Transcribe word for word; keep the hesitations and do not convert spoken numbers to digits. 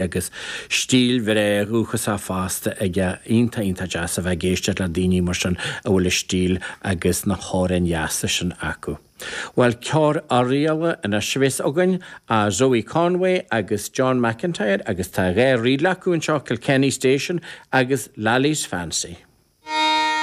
Agus stíl bhreá dhúchasach fosta aige. Iontach iontach deas a bheith ag éisteacht le daoine mar sin a bhfuil a stíl agus na hamhráin dheasa sin acu. Bhuel, ceol Oirialla anois a bheas againn, Zoe Conway agus John McIntyre, agus tá dhá ríl acu anseo, Kilkenny Station agus Lally's Fancy.